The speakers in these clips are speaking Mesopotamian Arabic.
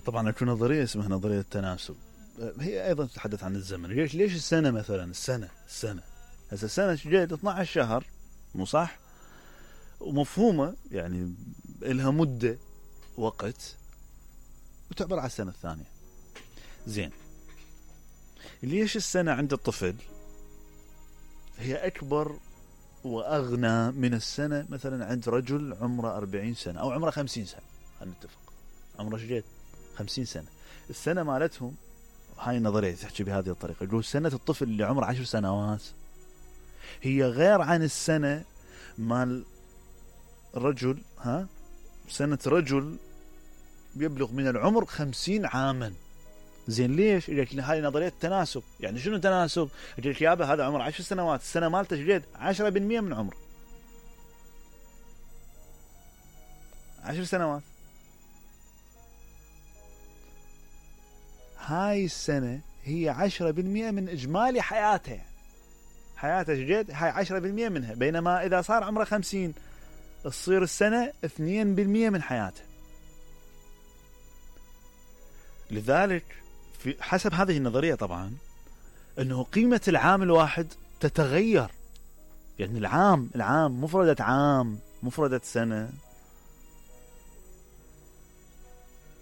طبعا اكو نظريه اسمها نظريه التناسب، هي ايضا تتحدث عن الزمن. ليش السنه مثلا، السنه هسه السنه جاية 12 شهر، مو صح؟ ومفهومه يعني لها مده وقت وتعبر على السنه الثانيه. زين، ليش السنه عند الطفل هي اكبر واغنى من السنه مثلا عند رجل عمره 40 سنه او عمره 50 سنه؟ خلينا نتفق، عمره شجيت 50 سنه. السنه مالتهم، هاي النظريه تحكي بهذه الطريقه، يقول سنه الطفل اللي عمره 10 سنوات هي غير عن السنه مال رجل، سنه رجل يبلغ من العمر 50 عاما. زين، ليش؟ يقول هاي نظريه التناسب. يعني شنو تناسب؟ يقول لك يابا هذا عمره 10 سنوات، السنه مالته شجيت 10% من عمره، 10 سنوات. هاي السنة هي 10% من إجمالي حياته، حياته جد هاي 10% منها. بينما إذا صار عمره 50 تصير السنة 2% من حياته. لذلك في حسب هذه النظرية طبعا أنه قيمة العام الواحد تتغير. يعني العام مفردة عام، مفردة سنة،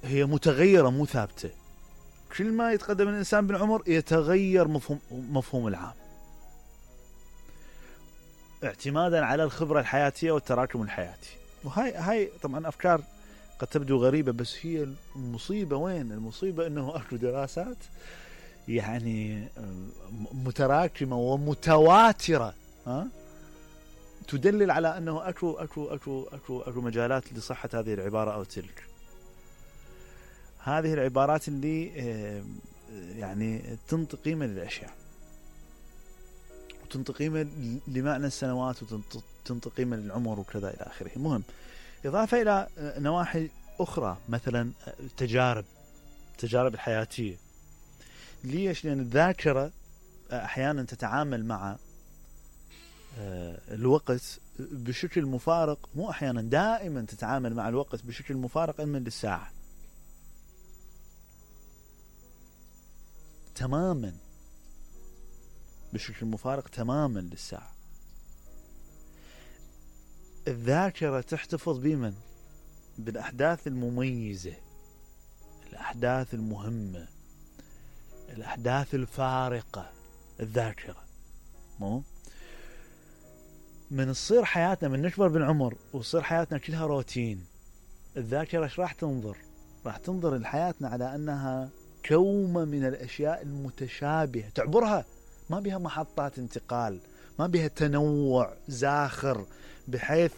هي متغيرة مو ثابتة. كل ما يتقدم الإنسان بالعمر يتغير مفهوم العام، اعتمادا على الخبرة الحياتية والتراكم الحياتي. وهاي طبعا أفكار قد تبدو غريبة، بس هي المصيبة وين؟ المصيبة أنه أكو دراسات يعني متراكمة ومتواترة تدلل على أنه أكو مجالات لصحة هذه العبارة أو تلك. هذه العبارات اللي يعني تنطي قيمة للأشياء، وتنطي قيمة لمعنى السنوات، وتنطي قيمة للعمر وكذا إلى آخره. المهم، إضافة إلى نواحي أخرى مثلا التجارب الحياتية. ليش؟ لأن الذاكرة أحيانا تتعامل مع الوقت بشكل مفارق، مو أحيانا، دائما تتعامل مع الوقت بشكل مفارق علما للساعة تماما، بشكل مفارق تماما للساعة. الذاكرة تحتفظ بمن؟ بالأحداث المميزة، الأحداث المهمة، الأحداث الفارقة. الذاكرة مو من تصير حياتنا، من نكبر بالعمر وتصير حياتنا كلها روتين، الذاكرة ايش راح تنظر؟ راح تنظر لحياتنا على أنها كومة من الأشياء المتشابهة تعبرها، ما بها محطات انتقال، ما بها تنوع زاخر بحيث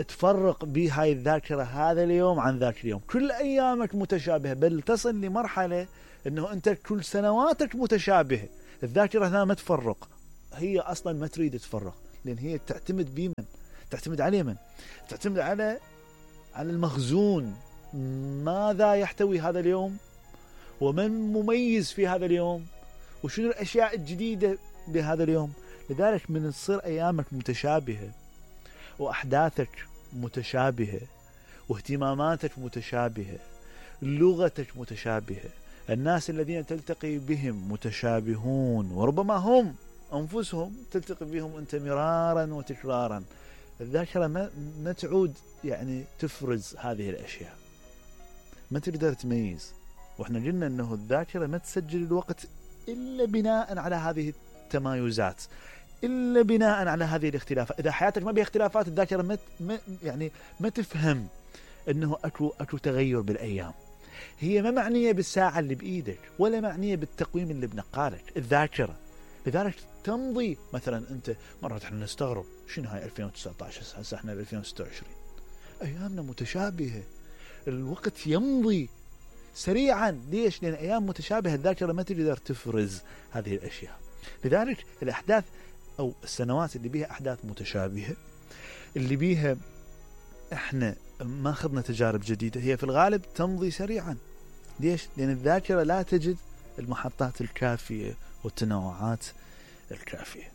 تفرق بهاي الذاكرة هذا اليوم عن ذاك اليوم. كل أيامك متشابهة، بل تصل لمرحلة أنه أنت كل سنواتك متشابهة. الذاكرة هنا ما تفرق، هي أصلا ما تريد تفرق، لأن هي تعتمد بمن؟ تعتمد على من؟ تعتمد على المخزون. ماذا يحتوي هذا اليوم؟ ومن مميز في هذا اليوم؟ وشنو الأشياء الجديدة بهذا اليوم؟ لذلك من تصير أيامك متشابهة، وأحداثك متشابهة، واهتماماتك متشابهة، لغتك متشابهة، الناس الذين تلتقي بهم متشابهون، وربما هم أنفسهم تلتقي بهم أنت مرارا وتكرارا. الذاكرة ما تعود يعني تفرز هذه الأشياء، ما تقدر تميز. وإحنا قلنا أنه الذاكرة ما تسجل الوقت إلا بناء على هذه التمايزات، إلا بناء على هذه الاختلافات. إذا حياتك ما بها اختلافات، الذاكرة ما تفهم أنه أكو تغير بالأيام. هي ما معنية بالساعة اللي بإيدك، ولا معنية بالتقويم اللي بنقالك الذاكرة. لذلك تمضي مثلا أنت مرات احنا نستغرب شنو هاي 2019 هسه احنا ب 2026 أيامنا متشابهة، الوقت يمضي سريعا. ليش؟ لأن أيام متشابهة، الذاكرة ما تقدر تفرز هذه الأشياء. لذلك الأحداث أو السنوات اللي بيها أحداث متشابهة، اللي بيها احنا ما أخذنا تجارب جديدة، هي في الغالب تمضي سريعا. ليش؟ لأن الذاكرة لا تجد المحطات الكافية والتنوعات الكافية.